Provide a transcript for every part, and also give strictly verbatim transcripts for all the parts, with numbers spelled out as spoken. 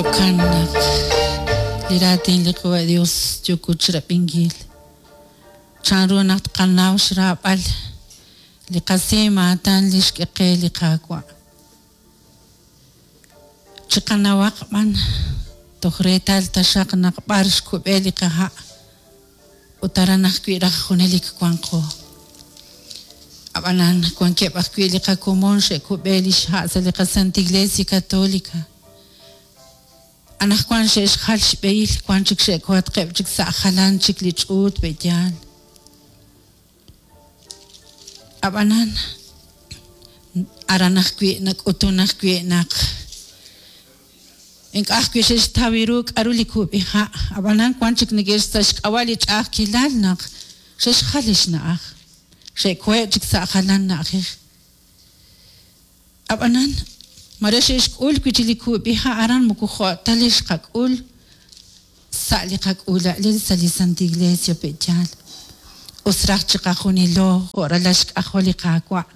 Jo'kan naq li raatin li Qawa' Dios yooko chirab'inkil. Chanru naq tqanaw xraab'al li qasimaatan li xk'e qe li Qaawa'. Chiqanawaq b'an toj reetal taxaq naq b'ar xkub'e li qaha' ut aran ajwi' raj junelik wanqo. Ab'anan wankeb' ajwi' li qakomon xe'kub'e li xha' sa' li qaSanta Iglesia Católica. Anaqwan xe'xjal xb'ehil wan chik xe'kohatqeb' chik sa' jalan chik li ch'uut be'yaal. Ab'anan aran ajwi' nak'utun ajwi' naq ink'a' ajwi' xe'xtaw ru k'aru li kub'iha'. Ab'anan wan chik neke'x sa' xk'ab'a' li ch'a'ajkilal naq xe'xjal li xna'aj. Xe'koheb' chik sa' jalan na'ajej. Ab'anan mare xe'xk'ul wi' chik li kub'iha' aran moko jo' ta li xqak'ul sa' li qak'uula'lil sa' li Santa Iglesia pe'yaal. Us raj chiqajunilo jo' ralal xk'ajol li Qaawa'.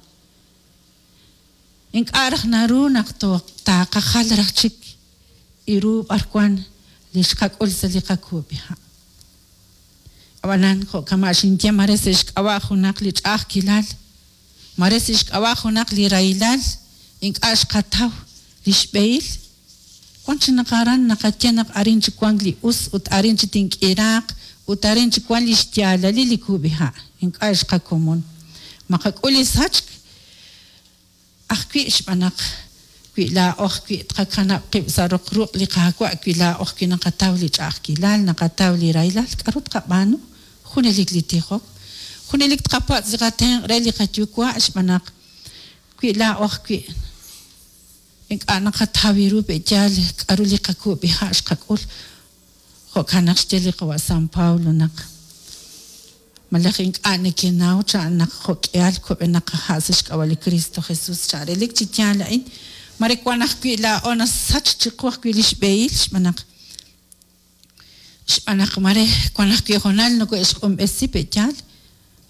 Ink'a' raj naru naq taaqajal raj chik iru b'arwan li xqak'ul sa' li qakub'iha'. Ab'anan jo' kama' xinye mare sa' xk'ab'a' junaq li ch'a'ajkilal, mare sa' xk'ab'a' junaq li rahilal, ink'a' xqataw li xb'ehil. Wan chi naq aran naqaye naq arin chi wank li us ut arin chi tink'iraaq ut arin chi wank li xyaalalil li kub'iha'. Ink'a' xqakomon. Maqak'ul li sachk ajwi' xb'aan naq wi laa'o ajwi' tqakanab' qib' sa' roq ruq' li Qaawa' wi laa'o ajwi' naqataw li ch'a'ajkilal, naqataw li rahilal, k'aru tqab'aanu? Junelik li tijok. Junelik tqapatz' li qatenq' re li qayuwa' xb'aan naq wi laa'o ajwi' ink'a' naqataw ru pe'yaal k'aru li qakub'iha' xqak'ul. Jo'kan naq xye li Qawa' San Pablo naq malaj ink'a' nekenaw chan naq jo'k'ihal kub'enaq qaha' sa' xk'ab'a' li Cristo Jesús chan relik chi yaal a'in. Mare wan ajwi' laa'o nasach chiqu ajwi' li xb'ehil xb'aan naq xb'aan naq mare wan ajwi' hoonal noko'xq'unb'esi pe'yaal.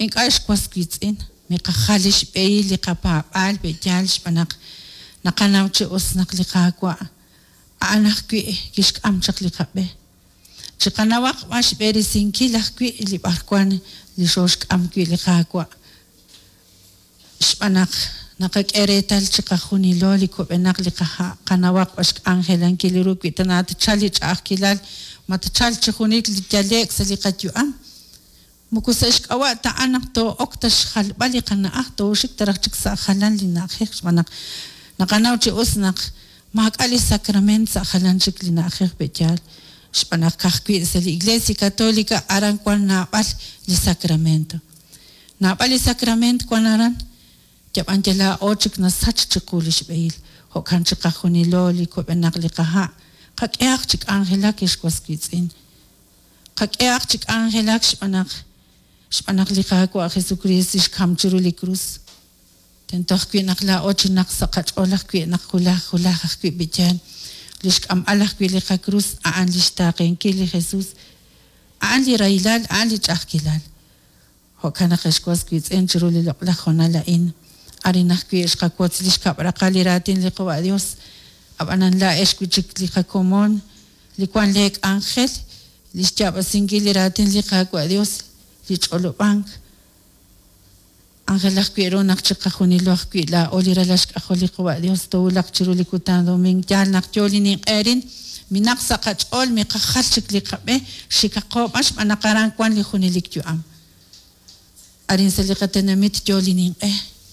Ink'a' xwas wiitz'in miqajal li xb'ehil li qapaab'aal pe'yaal xb'aan naq naqanaw chi us naq li Qaawa' a'an ajwi' kixk'am chaq li qab'e. Chiqanawaq b'an xb'eresinkil ajwi' li b'arwan li xooxk'am wi' li Qaawa'. Xb'aan naq naqak'e reetal chiqajunilo li kub'enaq li qaha' qanawaq b'an xk'anjelankil ru wi tana tchal li ch'a'ajkilal ma tchal chi junelik li yale'k sa' li qayu'am. Moko sa' xk'ab'a' ta'an naq too'ok ta xjalb'al li qana'aj tooxik taraj chik sa' jalan li na'ajej xb'aan naq naqanaw chi us naq maak'a' li sacrament sa' jalan chik li na'ajej pe'yaal. Xb'aan naq ka'ajwi' sa' li Iglesia Católica aran wan naab'al li sacramento. Naab'al li sacrament wan aran yab'an yalaa'o chik nasach chiqu li xb'ehil. Jo'kan chiqajunilo li kub'enaq li qaha' qak'ehaq chi k'anjelak xwas wiitz'in. Qak'ehaq chi k'anjelak xb'aan naq xb'aan naq li Qaawa' Jesucristo xkam chiru li krus. Tento ajwi' naq laa'o chi naq sa' qach'ool ajwi' naq julaj julaj ajwi' b'iyaal. Li xk'amb'al ajwi' li qakrus a'an li xtaaqenkil li Jesús. A'an li rahilal, a'an li ch'a'ajkilal. Jo'kan naq xwas wiitz'in chiru li loq'laj hoonal a'in. Arin ajwi' xqawotz li xkab'raqal li raatin li Qawa' Dios. Ab'anan laa'ex wi' chik li qakomon, li wan lee k'anjel, li xyaab'asinkil li raatin li Qaawa' Dios, li ch'olob'ank. Ángel ajwi' ru naq chiqajunilo ajwi' laa'o li ralal xk'ajol li Qawa' Dios toowulaq chiru li kutan domingo. Yaal naq yo li ninq'eerin, minaq sa' qach'ool miqajal chik li qab'e, xikaqo b'an xb'aan naq aran wan li junelik yu'am. Arin sa' li qatenamit yo li ninq'e,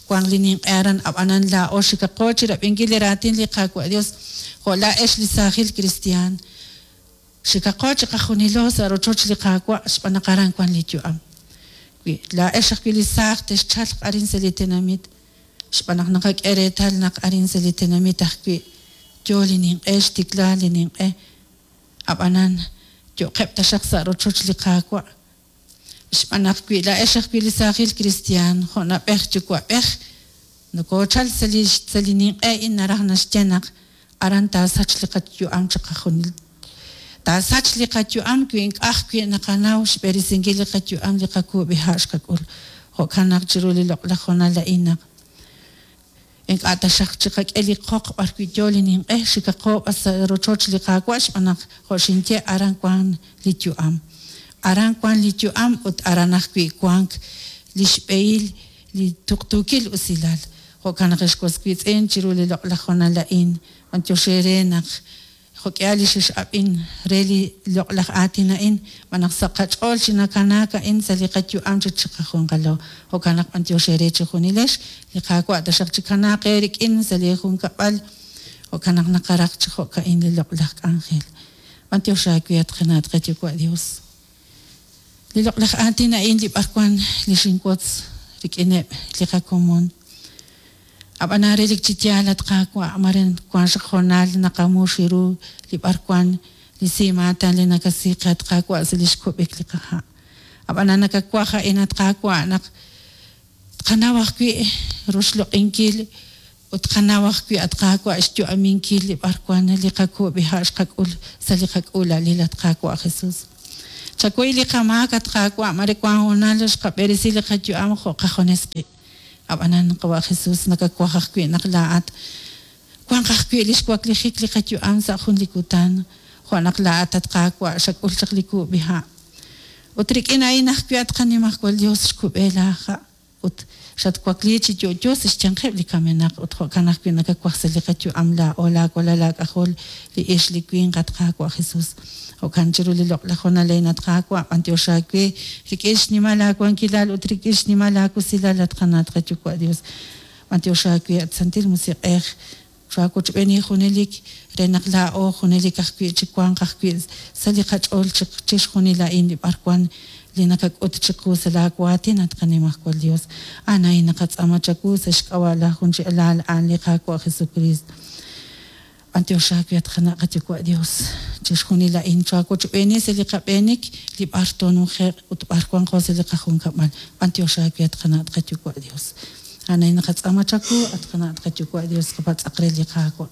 wan li ninq'e aran ab'anan laa'o xikaqo chirab'inkil li raatin li Qaawa' Dios jo' laa'ex li saajil cristian. Xikaqo chiqajunilo sa' rochoch li Qaawa' xb'aan naq aran wan li yu'am. Wi laa'ex ajwi' li saaj texchalq arin sa' li tenamit xb'aan naq naqak'e reetal naq arin sa' li tenamit ajwi' yo li ninq'e xtikla li ninq'e. Ab'anan yo'qeb' taxaq sa' rochoch li Qaawa'. Xb'aan naq wi laa'ex ajwi' li saajil cristian jo' nab'ej yuwa'b'ej nokochal sa' li sa' li ninq'e in naraj naxye naq aran taasach li qayu'am chiqajunil. Taasach li qayu'am wi ink'a' ajwi' naqanaw xb'eresinkil li qayu'am li qakub'iha' xqak'ul. Jo'kan naq chiru li loq'laj hoonal a'in naq Ink'a' taxaq chiqak'e li qoq b'arwi' yo li ninq'e, xikaqo b'an sa' rochoch li Qaawa' xb'aan naq jo' xinye aran wank li yu'am. Aran wank li yu'am ut aran ajwi' wank li xb'ehil li tuqtuukil usilal. Jo'kan naq ex was wiitz'in chiru li loq'laj honal a'in, b'antiox eere naq jo'k'ihal li xex'ab'in re li loq'laj aatin a'in, xb'aan naq sa' qach'ool chi nakanaak a'in sa' li qayu'am chi chiqajunqalo. Jo'kan naq b'antiox eere chejunilex, li Qaawa' taxaq chikanaaq eerik'in sa' li junkab'al. Jo'kan naq naqaraq chi jo'ka'in li loq'laj k'anjel. B'antiox aawe at qana' at qayuwa' Dios. Li loq'laj aatin a'in li b'arwan li xinwotz rik'ineb' li qakomon. Ab'anan relik chi yaal at Qaawa' mare wank xaq honal naqamux ru li b'arwan li simaatan li nakasi qe at Qaawa' sa' li xkub'ik li qaha'. Ab'anan nakawaj a'in at Qaawa' naq tqanaw ajwi' roxloq'inkil ut tqanaw ajwi' at Qaawa' xyu'aminkil li b'arwan li qakub'iha' xqak'ul sa' li qak'uula'lil at Qaawa' Jesús. Chakuy li qamaak at Qaawa' mare wank honal xqab'eresi li qayu'am jo' qajunes qib'. Ab'anan qawa' Jesús nakawaj ajwi' naq laa'at wanq ajwi' li xwaklijik li qayu'am sa' jun li kutan jo' naq laa'at at Qaawa' xak'ul chaq li kub'iha'. Ut rik'in a'in ajwi' at qanimajwal Dios xkub'e laaha' ut xatwakli chi yo'yo sa' xyanqeb' li kamenaq ut jo'kan ajwi' nakawaj sa' li qayu'am laa'o laawalal laak'ajol li ix li winq at Qaawa' Jesús. Jo'kan chiru li loq'laj honal a'in at Qaawa' b'antiox aawe rik'in xnimal aawankilal ut rik'in xnimal aakusilal at qana' at qayuwa' Dios. B'antiox aawe at Santil Musiq'ej xaawochb'eeni junelik re naq laa'o junelik ajwi' chi wanq ajwi' sa' li qach'ool chixjunil a'in li b'arwan li nakak'ut chiqu sa' laawaatin at qanimajwal Dios. A'an a'in naqatz'aama chawu sa' xk'ab'a' laj jun chi alal a'an li Qaawa' Jesucristo. B'antiox aawe at qana' qayuwa' Dios chixjunil a'in chaawochb'eeni sa' li qab'eenik li b'ar toonuje'q ut b'ar wanqo sa' li qajunkab'al. B'antiox aawe at qana' at qayuwa' Dios. A'an a'in naqatz'aama chawu at qana' at qayuwa' Dios qapatz'aq re li Qaawa'.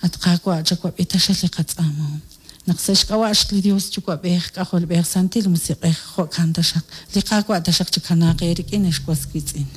At Qaawa' chawab'i taxaq li qatz'aamahom. Naq sa' xk'ab'a' li Dios Yuwa'b'ej K'ajolb'ej Santil Musiq'ej jo'kan taxaq. Li Qaawa' taxaq chikanaaq eerik'in ex was wiitz'in.